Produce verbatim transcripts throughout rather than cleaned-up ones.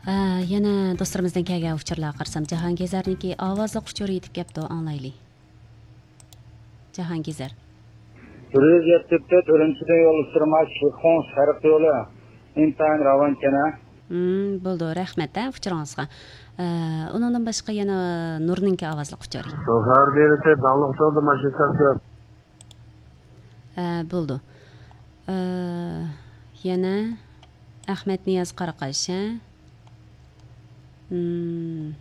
ئە، يەنە دوستلىرىمىزدىن كەلگەن ئۇچۇرلارغا قارىسام، جاھانگېزەرنىڭكى ئاۋازلىق ئۇچۇرى يېتىپ كەپتۇ، ئاڭلايلى. جاھانگېزەر. بىر يۈز يەتتە تۆت ئۈرۈمچىدىن يول ئۇچۇرى، شىخۇڭ شەرق يولى ئىنتايىن راۋان ئىكەن ھە. مم، بولىدۇ، رەھمەت ھە ئۇچۇرىڭىزغا. ئە، ئۇنىڭدىن باشقا يەنە نۇرنىڭكى ئاۋازلىق ئۇچۇرى. شوفېر بېرىسى داڭلىق جولدا ماشىنا سۈرۈپ. ئە، بولىدۇ. ئە، يەنە ئەخمەت نىياز قاراقاش ھە. مم.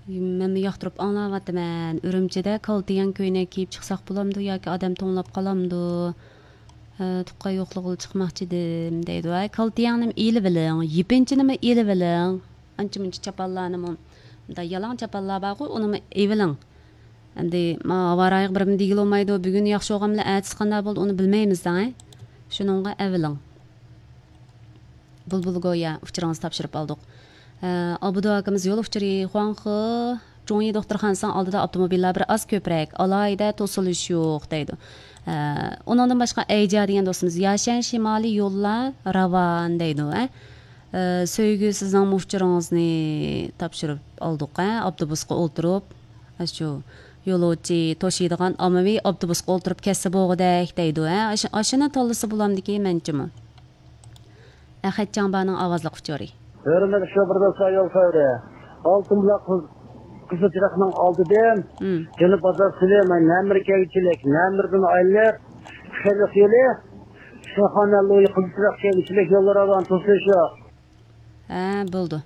مەنمۇ ياقتۇرۇپ ئاڭلاۋاتىمەن. ئۈرۈمچىدە كالتىياڭ كۆينەك كىيىپ چىقساق بولامدۇ ياكى ئادەم توڭلاپ قالامدۇ؟ ھە، تۇغقان يوقلىغىلى چىقماقچىدىم دەيدۇ. ھە، كالتىياڭنىمۇ ئېلىۋېلىڭ، يېپىنچىنىمۇ ئېلىۋېلىڭ. ئانچە مۇنچە چاپانلارنىمۇ، مۇنداق يالاڭ چاپانلار بارغۇ، ئۇنىمۇ ئېلىۋېلىڭ. ئەمدى ما ھاۋا رايىغا بىر دېگىلى بولمايدۇ، بۈگۈن ياخشى بولغان بىلەن ئەتىسى قانداق بولىدۇ، ئۇنى بىلمەيمىز دەڭ. شۇنىڭغا ئەۋېلىڭ. بۇلبۇل گويا ئۇچۇرىڭىزنى تاپشۇرۇپ ئالدۇق. ئە، ئابدۇ ئاكىمىز يول ئۇچۇرى، خۇاڭخې جۇڭيى دوختۇرخانىسىنىڭ ئالدىدا ئاپتوموبىللار بىر ئاز كۆپرەك، ئالاھىدە توسۇلۇش يوق دەيدۇ. ئە، ئۇنىڭدىن باشقا ئەيجا دېگەن دوستىمىز، ياشەن شىمالىي يوللار راۋان دەيدۇ. ئە، ئە، سۆيگۈ سىزنىڭ ئۇچۇرىڭىزنى تاپشۇرۇپ ئالدۇق. ئە، ئاپتوبۇسقا ئولتۇرۇپ، ئاشۇ يولۇچى توشۇيدىغان ئاممىۋى ئاپتوبۇسقا ئولتۇرۇپ كەتسە بولغۇدەك دەيدۇ. ئە، ئاشۇ، ئاشۇنى تاللىسا بولامدىكىن مەنچىمۇ. ئەخەت جاڭبانىڭ ئاۋازلىق ئۇچۇرى. ھۆرمەتلىك شوپۇر دوستلار، يول خەۋىرى. ئالتۇن بۇلاق قىز-، قىزىل چىراغنىڭ ئالدىدىن، مم، جەنۇب بازار سىلى، مەن نەمىر كەلگۈچىلىك، نەمىردىن ئايلىنىپ، خەلق يولى، شاخانە لويى قىزىل چىراغ كەلگۈچىلىك يوللىرى بىلەن توسۇلۇش يوق. ھە، بولدى.